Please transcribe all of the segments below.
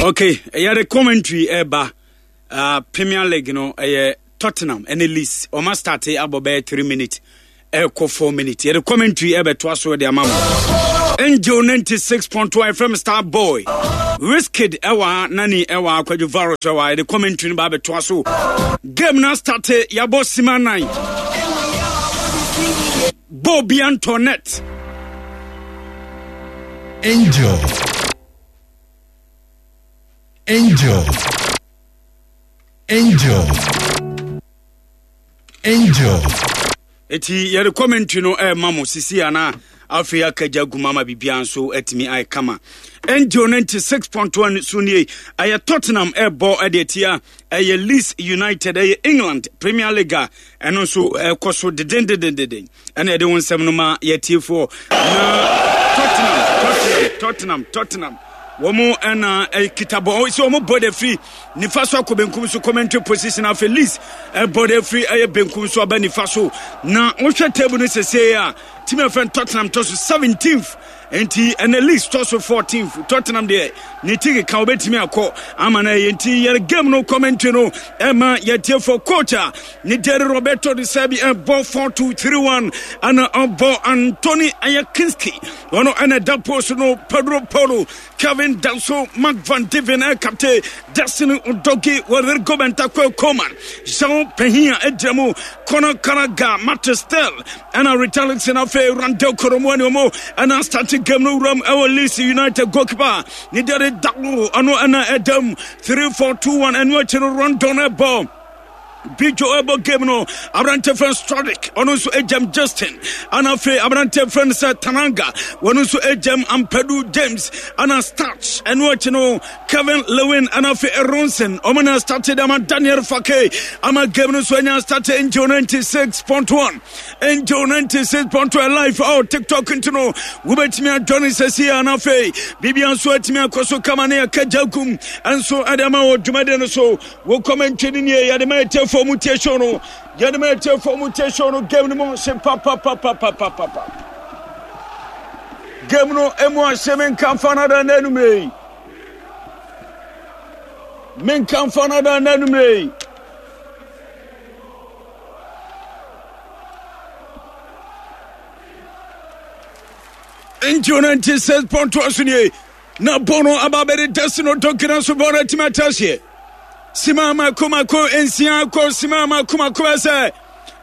Okay, yɛde commentary ɛba Premier League no ɛyɛ Tottenham ɛne Leeds wɔn astarte abɔ bɛyɛ 3 minutes ɛkɔ 4 minutes yɛde commentary ɛbɛtoa so de ama mo. Angel 96.1 FM Star Boy Wizkid ɛwɔ ha, Nani ɛwɔ ha, Kwadwo Varus ɛwɔ ha. Yɛde commentary no ba abɛtoa so. Game no astarte, yɛabɔ sima 9 bɔɔl bi antɔ net. Angel. Angel. Angel. Angel. Eti yɛde commentary no ɛrema mo sisi ana afei akagya gu mama biribiara nso atumi ayɛ kama. Angel 96.1 so nie ɛyɛ Tottenham ɛrebɔ ɛde atia ɛyɛ Leeds United ɛyɛ England Premier League a ɛno nso ɛkɔ so dedendedendeden. Ɛna yɛde wo nsɛm no ma yɛtiefoɔ na Tottenham Tottenham Tottenham Tottenham wɔn ɛna ɛkita bɔ sɛ wɔn bɔ de firi nifa so akɔ benkum so commentary position afei Leeds ɛbɔ de firi ɛyɛ benkum so aba nifa so na wohwɛ table no sese a team ɛfɛn Tottenham tɔ so 17th Nti ɛnɛ Leeds tɔ so 14th, Tottenham deɛ ne ti keka wobɛtumi akɔ ama no ɛyɛ nti yɛre game no commentary no ɛma yɛtiefo coach a ne Jerry Roberto de Serbi ɛbɔ 4-2-3-1 ɛna ɔbɔ Anthony ɛyɛ Kinski ɔno ɛna ɛda post no Pedro Porro Kevin Danso Mark Van Diven ɛkapte Destiny Udogie Rodrigo Bentancur Coman Jean Pehia ɛgyina mu Conor Gallagher Matt Stell Ɛna Richarlison afei Randall Koromoani ɔmo ɛna start game no wuram ɛwɔ Leeds United goalkeeper ne deɛ de dalo ɔno ɛna ɛdam 3-4-2-1 ɛno akyi no Rondon ɛbɔ Bijo ɛbɔ game no aberante fɛn Stradic ɔno nso agyam Justin ɛna afei aberante fɛn sɛ Tananga wɔno nso agyam Ampadu James ɛna Starch ɛno akyi no Kevin Lewin ɛna afei Aronson ɔmo na started ama Daniel Fake ama game no nso anya started Angel 96.1 Angel 96.1 live oh TikTok nti no wobɛtumi adwane sɛsi a na afei biribia nso atumi akɔ so kama ne yɛka gya gum nso ɛde ama wɔ dwumadi no so wo commentary no nie yɛde ma ɛtiɛfoɔ mu tie show no yɛde ma ɛtiɛfoɔ mu tie show no game no mu hye papapapapapapa game no emu ahye me nkamfa no ada na anumere yi me nkamfa no ada na anumere yi Nti ɔno nti sɛ pɔntoa so nie na bɔ no aba bɛde dasi no dɔnkena so bɔ no atumi ate aseɛ sima mako mako nsia kɔ sima mako mako sɛ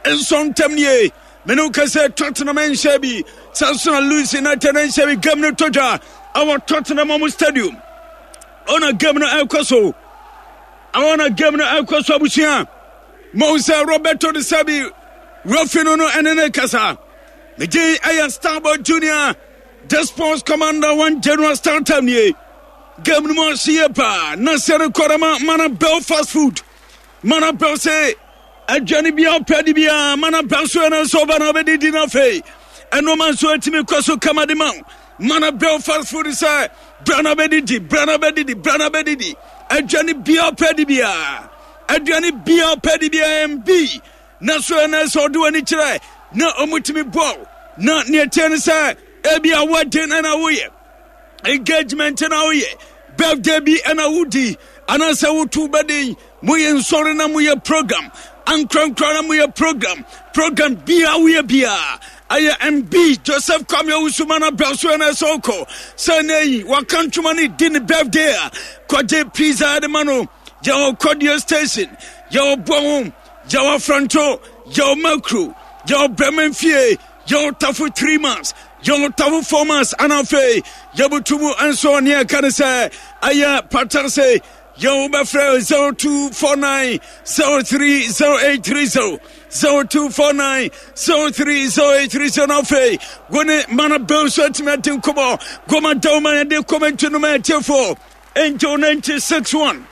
nsɔ ntam nie mene wo kɛ sɛ Tottenham nhyɛ bi sɛ nso na Leeds United nhyɛ bi game no tɔ dwa awɔ Tottenham ɔmo stadium ɔna game no ɛkɔ so ɔna game no ɛkɔ so abusua Mohu sɛ Roberto De Serbi referee no no ɛne ne kasa. Ne din ɛyɛ Starboy Junior, the sports commander one general star time nie. Game no mu ahye yie paa na sɛ rekɔda ma Mana Bell fast food. Mana Bell sɛ aduane biara ɔpɛ de biara Mana Bell so ɛna nso ɔba na ɔbɛdidi no afei ɛnoma nso atumi kɔ so kama de ma wo. Mana Bell fast food sɛ bra na bɛdidi bra na bɛdidi bra na bɛdidi aduane biara ɔpɛ de biara. Aduane biara ɔpɛ de biara mb na so ɛna sɛ ɔde w'ani kyerɛ na ɔmutumi bɔ na nea ɛteɛ no sɛ ebi a wedding ɛna woyɛ engagement na woyɛ birthday bi ɛna wodi anaasɛ wotu bɛden moyɛ nsɔre na moyɛ program ankorankora na moyɛ program program biara woyɛ biara ɛyɛ mb joseph kwame owusu mana brɛ so ɛna ɛsɛ ɔkɔ sɛ ɛnɛ yi waka ntwoma no di ne birthday a kɔgye pizza ɛde ma no Yɛwɔ Kɔdeɛ Station, yɛwɔ Bɔho, yɛwɔ Afranto, yɛwɔ Makro, yɛwɔ Brɛmanfie, yɛwɔ Tafo 3 months, yɛwɔ Tafo 4 months, ana afei yɛbutu mu nso ne ɛka ne sɛ ɛyɛ Patase. Yɛwɔ bɛfrɛ 0249 030830 0249 030830 na afei wo ne mana bɛw nso atumi adi nkɔmmɔ goma dawma yɛde kɔmɛnti no ma atiefoɔ Angel 96 1.